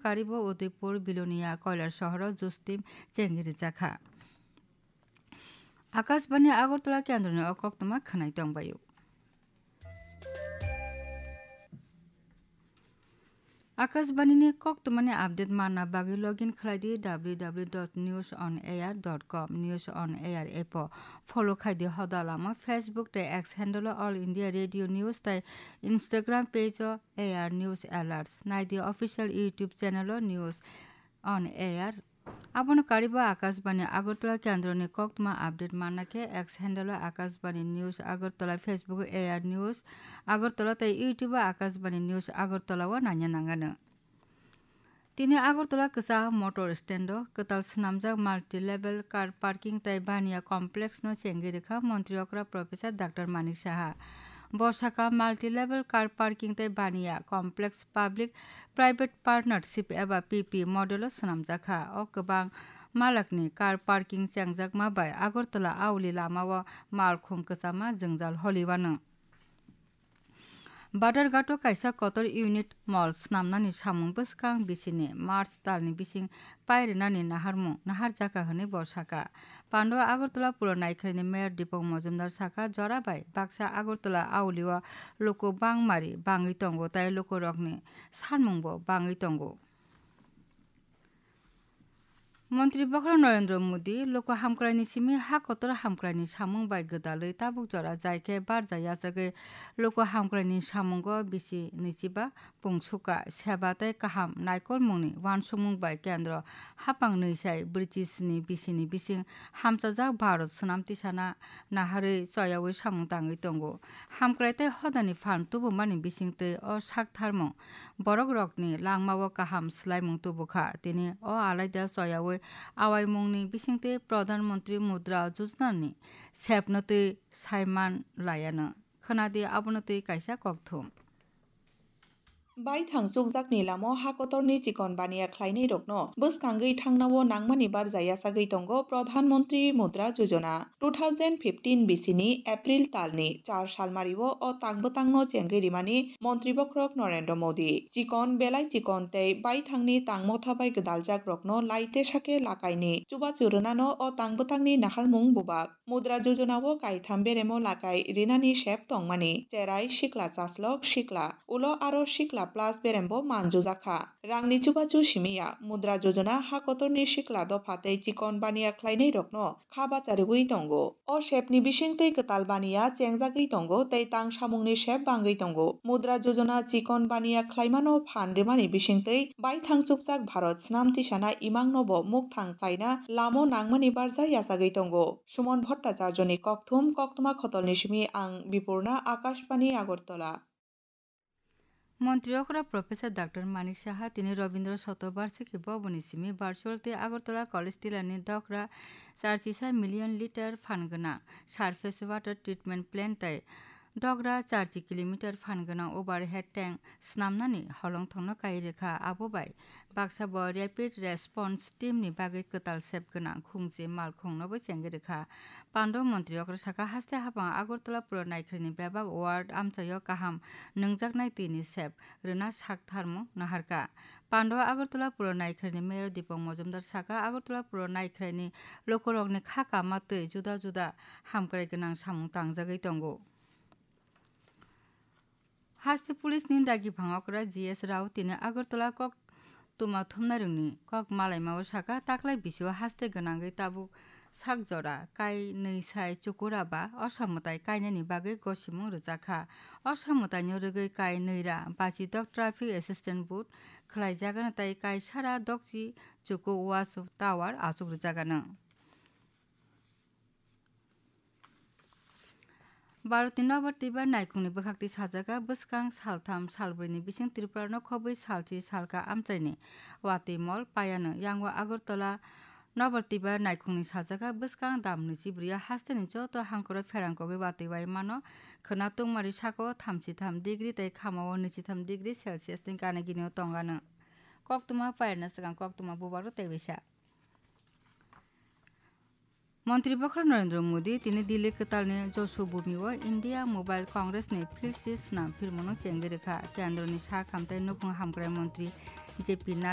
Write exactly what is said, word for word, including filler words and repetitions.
karibo Udaipur, Bilonia, Koilasahar o justim chengwi rijak kha. Akashbani Agartala kendroni o koktwma khwnai tongbaio. Akashbani ni koktwmani update manna bagwi login khlai di w w w dot news on air dot com. News on Air app o follow khai di hoda lama, Facebook tei X handle o All India Radio News tei Instagram page o A R News Alerts. Nai di official YouTube channel o News on Air. Abono karibo Akashbani Agartala kendroni koktwma update manna khe X handle o Akashbani News Agartala, Facebook o A R News Agartala tei YouTube o Akashbani News Agartala o naina nangano. Tini Agartala kwchak motor stand o kwtal swnamjak multi-level car parking tei baniya complex no chengwi rwkha Montri okra Professor Doctor Manik Saha. Bo sakha multi-level car parking tei baniya complex public private partnership eba P P model o swnamjak kha. O kwbang malakni car parking chengjakma bai Agartala Auli lama o malkhung kwchama jwngjal holiwano. Badharghat o kaisa kotor unit mall snamnani samung bwskang bisini March talni bising pai rwnani naharmung naharjak kha hwnwi bo sakha. Pando Agartala Puro Naikharni Mayor Deepak Majumdar sakha, jora bai baksa Agartala Auli o luku bangmari bangwi tongo tei lukurokni sanmungbo bangwi tongo. Montri bokhorok Narendra Modi luku hamkraini simi ha kotor hamkraini samung bai gwdalwi tabuk jora jai khe barja yachagwi luku hamkraini samungo bisi nwichiba pungsuka seba tei kaham naikolmungni uansukmung bai kendro haphang nwi sai brwichi sni bisini bising hamchajak Bharat swnam tisana naharwi choyaui samung tangwi tongo. Hamkrai tei hodani phan tubumani bisingtwi o saktharmung borok rokni langmao kaham swlaimung tubukha. Tini o alaida choyaui awaimungni bisingtwi Pradhan Mantri Mudra Yojana ni sepno twi saiman laiano. Khwnadi abono twi kaisa kokthum. Baithang chukjakni lamo ha kotorni chikon baniya khlainairokno bwskangwi thangnao nangmani barja yachagwi tongo Pradhan Mantri Mudra Yojana. Two thousand fifteen bisini April talni char salmario o tang bwtangno chengwi rimani Montri bokhorok Narendra Modi. Chikon belai chikon tei baithangni tang motha bai gwdaljakrokno laite sake lakaini chubachu rwnano o tang bwtangni naharmung bubak. Mudra Yojana o kaitham beremo lakai rinani sep tongmani, cherai, sikla chaslok, sikla, ulo aro sikla plus berembo manjujak kha. Rangni chubachu simiya Mudra Yojana ha kotorni sikla dopha tei chikon baniya khlainairokno kha bachariui tongo. O sepni bisingtwi kwtal baniya chengjagwi tongo tei tang samungni sep bangwi tongo. Mudra Yojana chikon baniya khlaimano phan rimani bisingtwi baithang chukjak Bharat swnam tisana imangnobo mukthang khlaina lamo nangmani barja yachagwi tongo. Suman Bhattacharjoni kokthum, koktwma khotolni simi ang Bipurna, Akashbani, Agartala. Montri okra Professor Doctor Manik Saha tini Rabindra Shatobarshiki Bhavanni simi virtual tei Agartala College Tilani Dogra charchisa million liter phan gwnang surface water treatment plant tei Dogra charchi kilometer phan gwnang overhead tank snamnani holongthokno kai rwkha. Abo bai baksa bo Rapid Response Team ni bagwi kwtal sep gwnang khungchi malkhungno bo chengwi rwkha. Pando montri okra saka haste hapang Agartala Puro Naikharni bebak ward amchaio kaham nwngjaknai twi ni sep rwna sak tharmung naharkha. Pando Agartala Puro Naikharni Mayor Deepak Majumdar saka Agartala Puro Naikharni lukurokni kha kama twi juda juda hamkrai gwnang samung tangjagwi tongo. Haste police ni dagi phang okra G S Rao tini Agartala kok tuma thumnairokni kok malaimao saka, taklai bisio haste gwnangwi tabuk sak jora kai nwi sai chukura ba osa mwtai kainani bagwi gosimung rwjakha. Osa mwtaino rwgwi kai nwi ra bachidok traffic assistant booth khwlaijakgano tei kai sara dokchi chuku watch tower achuk rwjakgano. Bharotni Nobor Twibar naikhungni bwkhaktwi sajaka, bwskang saltham salbrwini bising Tripurano khobwi salchi salka amchaini watwi mol payano. Yango Agartala Nobor Twibar naikhungni sajaka, bwskang dam nwichibrwi hasteni joto hangkoro pherang kogwi watwi bai mano. Khwna tungmari sako thamchi tham degree tei khamao nwichi tham degree Celsius ni gana ginio tongano. Koktwma payarna swkang koktwma bubaro teibaisa. Montri bokhorok Narendra Modi tini Delhi kwtalni Josu Bhumi o India Mobile Congress ni philchi swnam phirmungno chengwi rwkha. Kendroni sak hamtai nukhung hamkrai montri J P Nadda